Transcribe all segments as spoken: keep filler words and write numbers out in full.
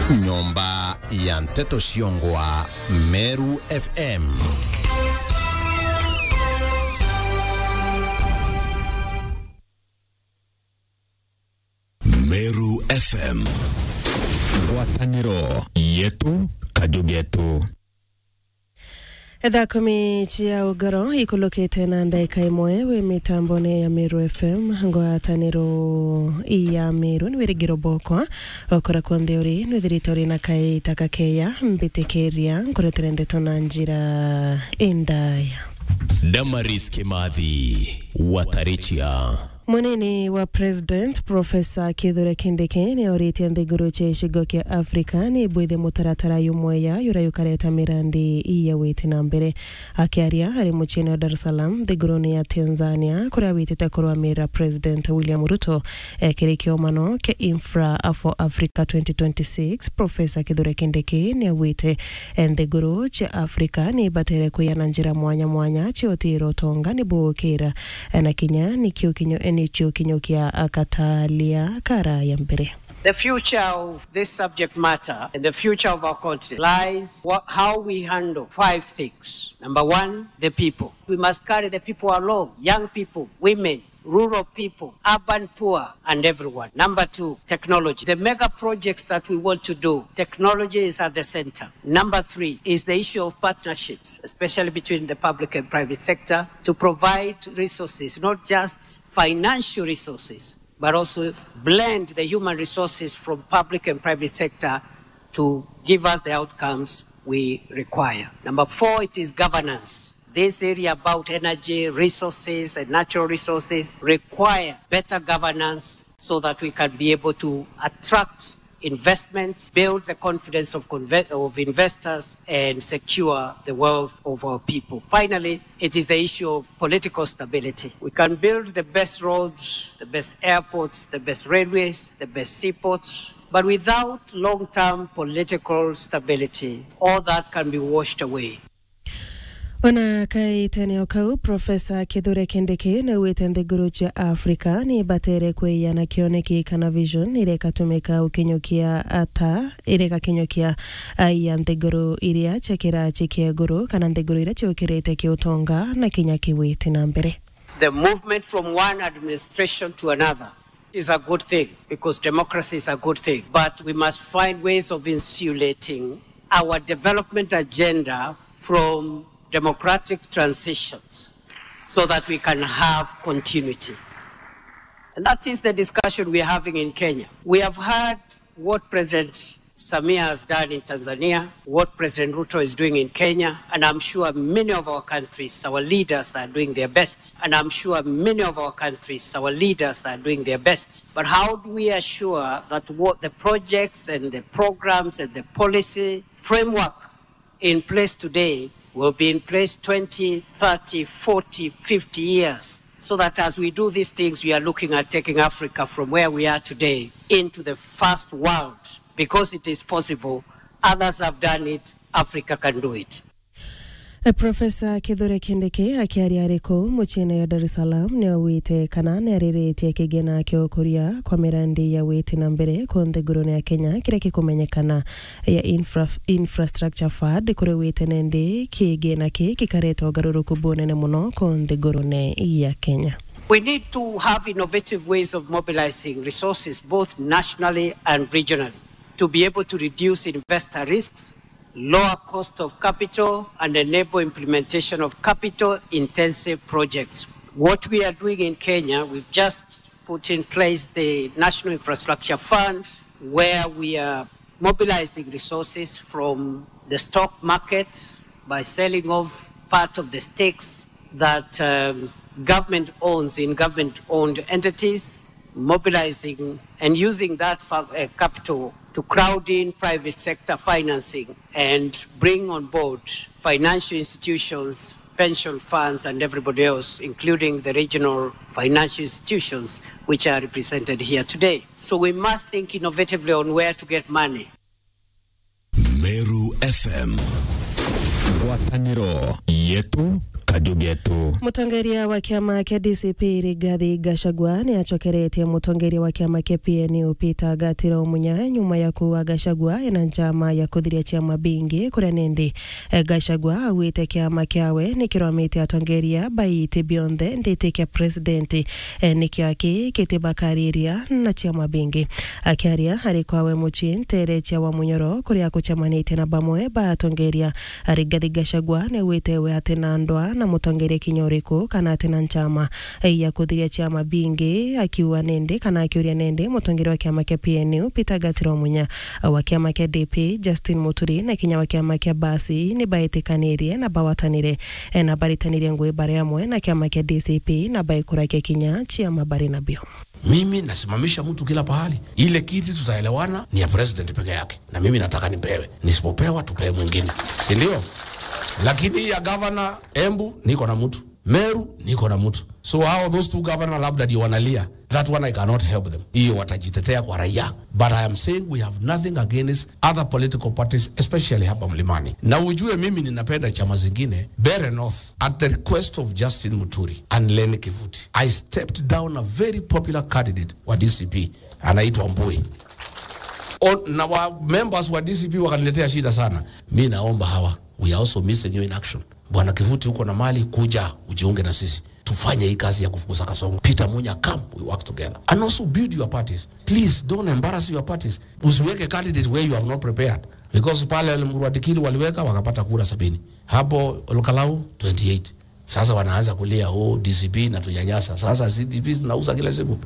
Nyomba ya nteto ciongwa Meru F M. Meru F M. Ngwataniro yetu, kaju getu. Thaa kumi cia ugoro ikulukite na ndaika imwe wi mitambone ya Meru F M, ngwataniro ya Meru. Ni wirigiro bwakwa, okora kwonthe uri, nwithirite uri na kaita kakeya, mbitikiria nkuretere ndeto na njira indaya. Damaris Kimathi, Watarichia. Munini wa President, Professor Kithure Kindiki, ni auritie nthiguru cia gicigo kia Africa ni ibwithe mutaratara jumweya juria jukareta mirandi ya witi na mbere. Akiaria ari muciine wa Dar es Salaam, nthigurune ya Tanzania, kuria awitite kurwamirira President William Ruto, eh, kiri kiomano kia Infra for Africa twenty twenty-six, Professor Kithure Kindiki ni augite, eh, nthiguru cia Africa ni ibatere kwiyana njira mwanya mwanya cia utiira utonga ni bugukira, eh, na kinya ni kiukinyo-, eh, ni kiukinyo kia, ah, katalia karaya mbere. The future of this subject matter and the future of our continent lies wha-, how we handle five things. Number one, the people. We must carry the people along, young people, women, rural people, urban poor, and everyone. Number two, technology. The mega projects that we want to do, technology is at the center. Number three is the issue of partnerships, especially between the public and private sector, to provide resources, not just financial resources, but also blend the human resources from public and private sector to give us the outcomes we require. Number four, it is governance. This area about energy resources and natural resources require better governance so that we can be able to attract investments, build the confidence of conve-, of investors, and secure the wealth of our people. Finally, it is the issue of political stability. We can build the best roads, the best airports, the best railways, the best seaports, but without long-term political stability, all that can be washed away. Ona kaitene o kau, Professor Kithure Kindiki ni augite nthiguru cia Africa ni ibatere kwiyana kioneki kana vision iria ikatumika gukinyukia ata, iria igakinyukia aia nthiguru iria cia kirachi kia iguru kana nthiguru iria ciukirite kiutonga na kinya kiwiti na mbere. The movement from one administration to another is a good thing because democracy is a good thing, but we must find ways of insulating our development agenda from democratic transitions so that we can have continuity. And that is the discussion we are having in Kenya. We have had what President Samia has done in Tanzania, what President Ruto is doing in Kenya, and I'm sure many of our countries, our leaders are doing their best. And I'm sure many of our countries, our leaders are doing their best. But how do we assure that what the projects and the programs and the policy framework in place today will be in place twenty, thirty, forty, fifty years, so that as we do these things, we are looking at taking Africa from where we are today into the first world, because it is possible. Others have done it, Africa can do it. Eh, Professor Kithure Kindiki akiaria ari kuu muciine ya Dar es Salaam ni augite kana ni ariritie kigina kia ukuria kwa mirandi ya witi na mbere ku nthigurune ya Kenya kiria gikumenyekana ya infra-, Infrastructure Fund, kuri wite nendi kigina ki kikareta ugaruruku bunene muno ku nthigurune ya Kenya. We need to have innovative ways of mobilizing resources both nationally and regionally to be able to reduce investor risks, lower cost of capital, and enable implementation of capital-intensive projects. What we are doing in Kenya, we've just put in place the National Infrastructure Fund, where we are mobilizing resources from the stock market by selling off part of the stakes that, um, government owns in government-owned entities, mobilizing and using that fa-, uh, capital to crowd in private sector financing and bring on board financial institutions, pension funds, and everybody else, including the regional financial institutions which are represented here today. So we must think innovatively on where to get money. Meru F M. Ngwataniro yetu, Ajugetu. Mutongeria wa kiama kia D C P Rigathi Gachagua ni acokeretie mutongeria wa kiama kia P N U Peter Gatira Omunya nyuma ya kuuga Gachagua ena njama ya kuthiria ciama bingi, kuria nindi, eh, Gachagua augite kiama kiawe ni kirwamite atongeria baiti bionthe nditi kia president, eh, nikio aki kitibakariria na ciama bingi. Akiaria ari kwawe mucii ntere cia Wamunyoro, kuria akucemanitie na bamwe ba atongeria, Rigathi Gachagua ni augite we atina ndwaa na mutongeria kinya uriku kana atina nchama ya kuthiria ciama bingi, akiuga nindi kana akiuria nindi mutongeria wa kiama kia P N U Peter Gatira Omunya, wa kiama kia D P Justin Muturi na kinya wa kiama kia Basi ni baetikanirie na bawatanire, eh, na baritanirie ngui bari amwe na kiama kia D C P na baikurakia kinya ciama bari nabio. Mimi nasimamisha mtu kila pahali. Ile kiti tutaelewana ni ya president peke yake. Na mimi nataka nipewe. Nisipopewa, tupewe mwingine. Si ndio? Lakini hii ya governor, Embu, niko na mtu. Meru, niko na mtu. So how those two governor labda ndio wanalia. That one I cannot help them. Hiyo watajitetea kwa raia. But I am saying we have nothing against other political parties, especially hapa Mlimani. Na ujue mimi ninapenda chama zingine. Mbeere North, at the request of Justin Muturi and Lenny Kivuti, I stepped down a very popular candidate wa D C P, anaitwa Mbui. O, na wa members wa D C P wakaniletea shida sana. Mi naomba hawa, we are also missing you in action. Bwana Kivuti, uko na mali, kuja ujiunge na sisi. Tufanye hii kazi ya kufukuza kasongo. Peter Munya, come, we work together. And also build your parties. Please, don't embarrass your parties. Usiweke candidate where you have not prepared. Because pale Murwadikili waliweka, wakapata kura sabini. Hapo Olkalau, twenty-eight. Sasa wanaanza kulia, "Oh, D C P inatunyanyasa." Sasa si D C P tunauza kila siku.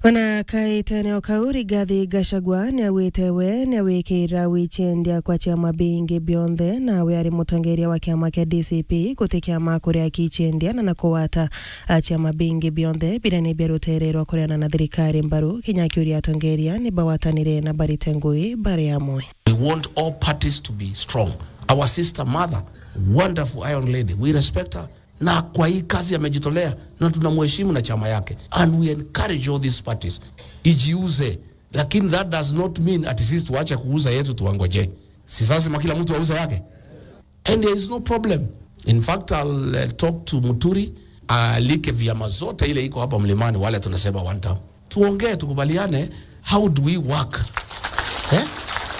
Ona kaitene o kau, Rigathi Gachagua niaugite we niawikira wichendia kwa ciama bingi bionthe, nawe ari mutongeria wa kiama kia D C P, guti kiama kuria kichendia na na kugwata a ciama bingi bionthe biria ni bia rutere rwa kuriana na thirikari mbaru, kinya akiuria atongeria ni bawatanire na barite ngui bari amwe. We want all parties to be strong. Our sister mother, wonderful iron lady, we respect her. Na kwa hii kazi amejitolea, na tunamheshimu na chama yake. And we encourage all these parties. Ijiuze. Lakini that does not mean ati sisi tuache kuuza yetu tuangoje. Si lazima kila mtu auze yake. And there is no problem. In fact, I'll, uh, talk to Muturi, alike vyama zote ile iko hapa Mlimani, wale tunasema one term. Tuongee, tukubaliane, how do we work? Eh?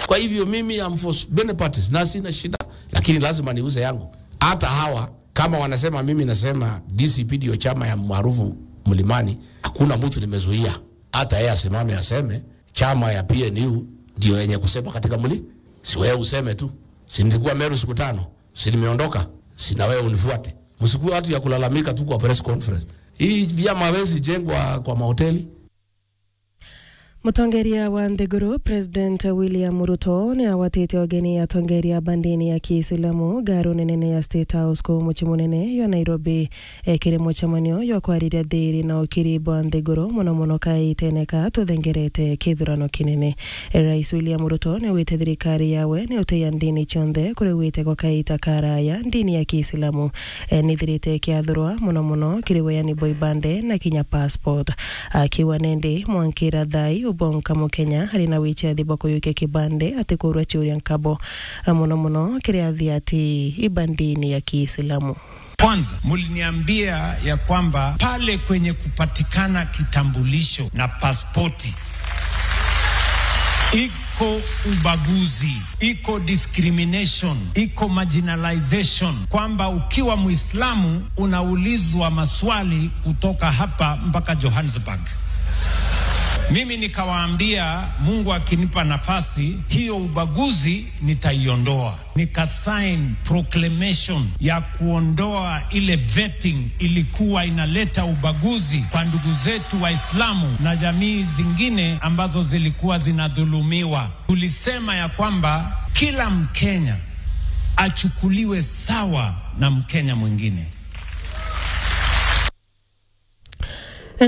Kwa hivyo mimi, I'm for s-, many parties, na sina shida, lakini lazima niuze yangu. Hata hawa, kama wanasema mimi nasema D C P ndio chama ya maarufu Mlimani, hakuna mtu nimezuia. Hata yeye asimame aseme, chama ya P N U ndio yenye kusema katika mli-, si wewe useme tu. Si nilikuwa Meru siku tano? Si nimeondoka? Si na wewe unifuate? Msikuwe watu ya kulalamika tu kwa press conference. Hii vyama hawezi jengwa kwa mahoteli. Mutongeria wa nthiguru, President William Ruto, ni agwatite ugeni atongeria ba ndini ya Kiislamu ngaruni nene ya State House kuu mucii munene jwa Nairobi, e, kiri mucemanio jwa kwariria thiiri na ukiri bwa nthiguru, muno muno kaitene ka tuthengerete kithurano kinene. E, Rais William Ruto ni augite thirikari yawe ni uteia ndini cionthe kuri gwite gwa kaita karaya ndini ya Kiislamu, e, nithirite ikiathurwa muno muno kiri weani bwa ibande na kinya passport. Akiuga nindi mwankira thai ubonka Mukenya ari na wichathi bwa kuyukia kibande atikurwa ciuria nkabo, e, muno muno kiri athiati ba ndini ya Kiislamu. Kwanza, mliniambia ya kwamba pale kwenye kupatikana kitambulisho na pasipoti, iko ubaguzi, iko discrimination, iko marginalization, kwamba ukiwa Muislamu unaulizwa maswali kutoka hapa mpaka Johannesburg. Mimi nikawaambia, Mungu akinipa nafasi, hiyo ubaguzi nitaiondoa. Nikasign proclamation ya kuondoa ile vetting ilikuwa inaleta ubaguzi kwa ndugu zetu Waislamu na jamii zingine ambazo zilikuwa zinadhulumiwa. Tulisema ya kwamba kila Mkenya achukuliwe sawa na Mkenya mwingine.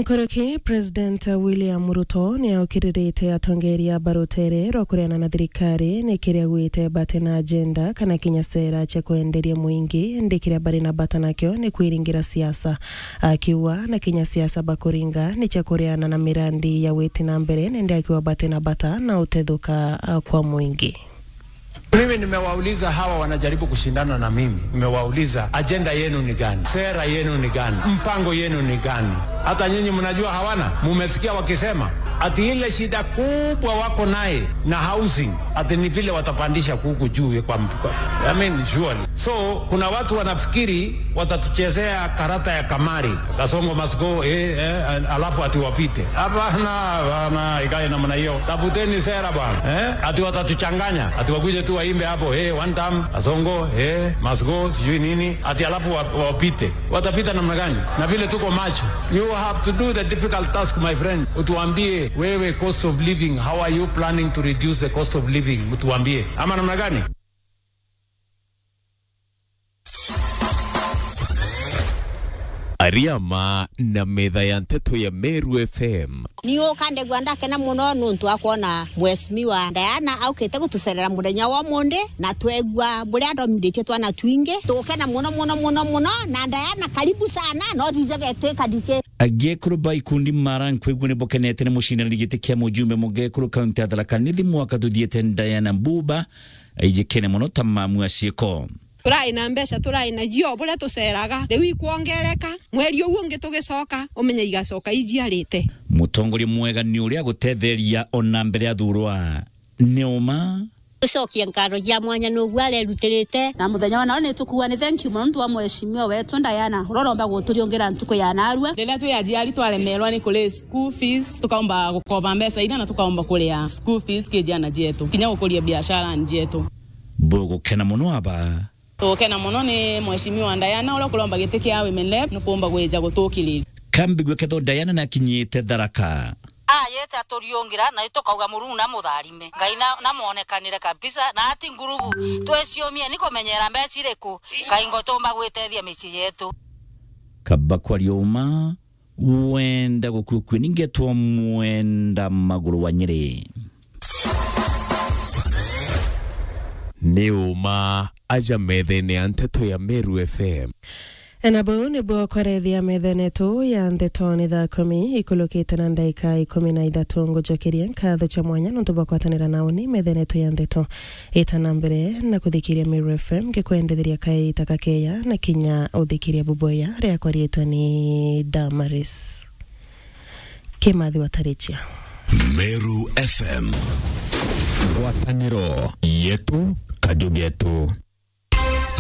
Nkoroki, President William Ruto ni aukiririte atongeria ba rutere rwa kuriana na thirikari ni kiria gwite bati na agenda kana kinya sera cia kwenderia mwingi, indi kiria bari na bata nakio ni kwiringira siasa. Akiuga na kinya siasa bakuringa ni cia kuriana na mirandi ya witi na mbere, nindi akiuga bati na bata na utethuka, a, kwa mwingi. Mimi nimewauliza hawa wanajaribu kushindana na mimi, nimewauliza, ajenda yenu ni gani? Sera yenu ni gani? Mpango yenu ni gani? Hata nyinyi mnajua hawana, mumesikia wakisema ati ile shida kubwa wako naye na housing, ati ni vile watapandisha kuku juu kwa mtu. I mean, surely. So, kuna watu wanafikiri watatuchezea karata ya kamari. Kasongo must go, eh, eh, alafu ati wapite. Hapana, hapana, ikae namna hiyo. Tafuteni sera bwana, eh? Ati watatuchanganya, ati wakuje tu waimbe hapo, eh, one term, Kasongo, eh, must go, sijui nini, ati alafu wa-, wapite. Watapita namna gani? Na vile tuko macho. You have to do the difficult task, my friend. Utuambie wewe, cost of living, how are you planning to reduce the cost of living? Mtuambie. Ama namna gani? Ariama na metha ya nteto ya Meru F M. Ni ukandegua ndakena muno nuntu wa kwona Mheshimiwa Diana aukite gutucerera muthenya wa umuthi, na twegua buria athomithitie twana twingi. Tugukena muno, muno, muno, muno. Na Diana, karibu sana, no thije geti kadiki. Agekuru ba ikundi mara nkwigua ni bukenete ni mucindaniri giti kia mujumbe mugekuru kaunti ya Tharaka Nithi mwaka tuthiete, Diana Mbuba, aijikene muno ta mamu a ciiko. Turai na mbeca, turai na cio buria tuceraga. Riu ikwongereka, mweri uu ungi tugicoka, umenye igacoka ijiarite. Mutongoria mwega ni uria agutetheria ona mbere athurwa. Ni uma. Tucokie nkatho cia mwanya nuguo arerutirite. Na muthenya wa nao ni tukuuga ni thank you mono nuntu wa mheshimiwa wetu Diana, uria uromba guturiungira ntuku ya narua. Riria twi aciari twaremerwa ni kuri school fees, tukaumba gukoba mbeca iria na tukaumba kuria school fees ki ciana cietu, kinya gukuria biashara cietu. Bugukena muno aba. Tugukena muno ni mheshimiwa Diana uria ukuromba giti kia women rep ni kuumba gwija gutukiriria. Kambigwe ketho Diana nakinyite Tharaka. Ayete aturiungira, na tukauga Murungu na mutharime. Ngai na, na mwonekanire kabisa, na ati ngurubu. Twiciumie ni kumenyera mbeca iriku, kaingo tumba gwitethia micii yetu. Kaba kwaria uma, wenda gukua kue, ningetwa Mwenda Maguru wa Nyeri. Ni uma aja methene ya nteto ya Meru F M. Na buu nibuo kwarethia methene yetu ya nteto ni thaa kumi ikulukite na ndaika ikumi na ithatu. Ngucokeria nkatho cia mwanya nontu bwa kwatanira na uni methene yetu ya nteto. Ita na mbere na kuthikiria Meru F M, ngikwendetheria kaita kakeya na kinya uthikiria buboya. Riakwa riitwa ni Damaris Kimathi wa Tarichia. Meru F M. Ngwataniro yetu, kaju getu.